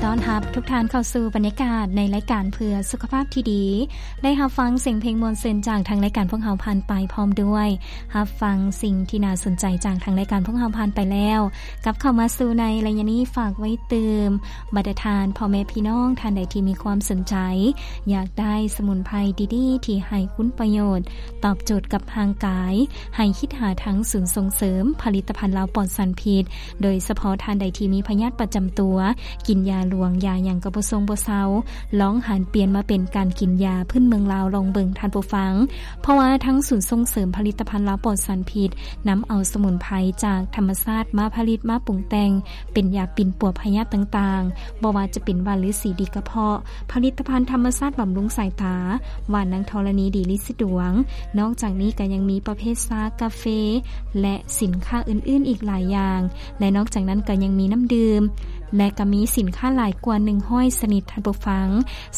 ຕ້ອນຮັບທຸກທ່ານເຂົ້າສູ່ບັນຍາກາດໃນລາຍການເພື່ອສຸຂະພາບທີ່ດີ. ໄດ້ຮັບຟັງສຽງເພງມ່ວນຊື່ນຈາກທາງລາຍການພວກເຮົາຜ່ານໄປ ພ້ອມດ້ວຍຮັບຟັງສິ່ງທີ່ໜ້າສົນໃຈຈາກທາງລາຍການພວກເຮົາຜ່ານໄປແລ້ວ. ກັບເຂົ້າມາສູ່ໃນໄລຍະນີ້ ຝາກໄວ້ຕື່ມບັນດາທ່ານພໍ່ແມ່ພີ່ນ້ອງທ່ານໃດທີ່ມີຄວາມສົນໃຈ ຢາກໄດ້ສະໝຸນໄພດີໆທີ່ໃຫ້ຄຸນປະໂຫຍດ ຕອບໂຈດກັບຮ່າງກາຍ ໃຫ້ຄິດຫາທາງສູນສົ່ງເສີມຜະລິດຕະພັນລາວປອດສານພິດ, ໂດຍສະເພາະທ່ານໃດທີ່ມີພະຍາດປະຈຳຕົວ ກິນຢາຫຼວງຢາຫຍັງກໍບໍ່ຊົງບໍ່ເຊົາ, ລອງຫັນປ່ຽນມາເປັນການກິນຢາພື້ນເມືອງລາວລອງເບິ່ງທ່ານຜູ້ຟັງ. ເພາະວ່າທາງສູນສົ່ງເສີມຜະລິດຕະພັນລາວປອດສານພິດ ນຳເອົາສະໝຸນໄພຈາກທຳມະຊາດມາຜະລິດມາປຸງແຕ່ງ ເປັນຢາປິ່ນປົວພະຍາດຕ່າງໆ, ບໍ່ວ່າຈະເປັນຫວ່ານລືສີດີກະເພາະ, ຜະລິດຕະພັນທຳມະຊາດບຳລຸງສາຍຕາ, ຫວ່ານນາງທໍລະນີດີລິດສະດວງ. ນອກຈາກນີ້ກໍຍັງມີປະເພດຊາ, ກາເຟ ແລະ ສິນຄ້າອື່ນໆອີກຫຼາຍຢ່າງ. ແລະ ນອກຈາກນັ້ນກໍຍັງມີນ້ຳດື່ມ ແລະ ກໍມີສິນຄ້າຫຼາຍກວ່າໜຶ່ງຮ້ອຍຊະນິດ. ທ່ານຜູ້ຟັງ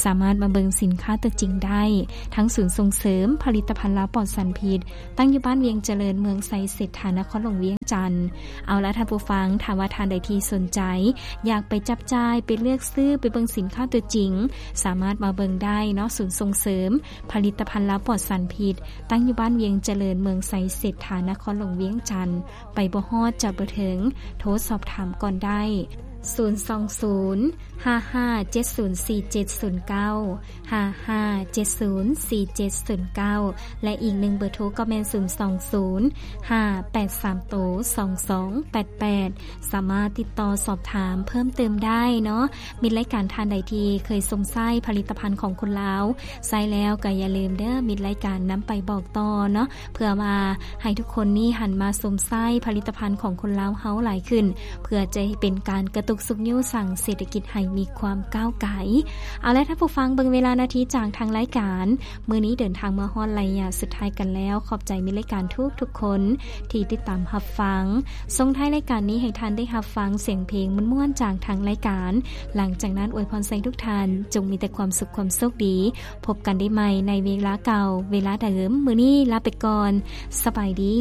ສາມາດມາເບິ່ງສິນຄ້າຕົວຈິງໄດ້. ທາງສູນສົ່ງເສີມຜະລິດຕະພັນລາວປອດສານພິດ ຕັ້ງຢູ່ບ້ານວຽງຈະເລີນ ເມືອງໄຊເສດຖາ ນະຄອນຫຼວງວຽງຈັນ. ເອົາລະທ່ານຜູ້ຟັງ, ຖ້າວ່າທ່ານໃດທີ່ສົນໃຈ ຢາກໄປຈັບຈ່າຍ, ໄປເລືອກຊື້, ໄປເບິ່ງສິນຄ້າຕົວຈິງ, ສາມາດມາເບິ່ງໄດ້ເນາະ. ສູນສົ່ງເສີມຜະລິດຕະພັນລາວປອດສານພິດ ຕັ້ງຢູ່ບ້ານວຽງຈະເລີນ ເມືອງໄຊເສດຖາ ນະຄອນຫຼວງວຽງຈັນ. ໄປບໍ່ຮອດ ຈະບໍ່ເຖິງ, ໂທສອບຖາມກ່ອນໄດ້ ສູນສອງສູນ ຫ້າຫ້າເຈັດສູນ ສີ່ເຈັດສູນເກົ້າ ຫ້າຫ້າເຈັດສູນ ສີ່ເຈັດສູນເກົ້າ ແລະ ອີກໜຶ່ງເບີໂທກໍແມ່ນ ສູນສອງສູນ ຫ້າແປດສາມໂຕ ສອງສອງແປດແປດ ສາມາດຕິດຕໍ່ສອບຖາມເພີ່ມເຕີມໄດ້ເນາະ. ມິດລາຍການທ່ານໃດທີ່ເຄີຍຊົມໃຊ້ຜະລິດຕະພັນຂອງຄົນລາວ ໃຊ້ແລ້ວກໍຢ່າລືມເດີ້ ມິດລາຍການນຳໄປບອກຕໍ່ເນາະ ເພື່ອວ່າໃຫ້ທຸກຄົນນີ້ຫັນມາຊົມໃຊ້ຜະລິດຕະພັນຂອງຄົນລາວເຮົາຫຼາຍຂຶ້ນ ເພື່ອຈະເປັນການກະຕຸກຊຸກຍູ້ສ້າງເສດຖະກິດໃຫ້ມີຄວາມກ້າວໄກ. ເອົາລະທ່ານຜູ້ຟັງ, ເບິ່ງເວລານາທີຈາກທາງລາຍການ ມື້ນີ້ເດີນທາງມາຮອດໄລຍະສຸດທ້າຍກັນແລ້ວ. ຂອບໃຈມິດລາຍການທຸກໆຄົນທີ່ຕິດຕາມຮັບຟັງ. ສົ່ງທ້າຍລາຍການນີ້ໃຫ້ທ່ານໄດ້ຮັບຟັງສຽງເພງມ່ວນໆຈາກທາງລາຍການ. ຫຼັງຈາກນັ້ນອວຍພອນໃສ່ທຸກທ່ານຈົ່ງມີແຕ່ຄວາມສຸກຄວາມໂຊກດີ. ພົບກັນໄດ້ໃໝ່ໃນເວລາເກົ່າເວລາເດີມ. ມື້ນີ້ລາໄປກ່ອນ. ສະບາຍດີ.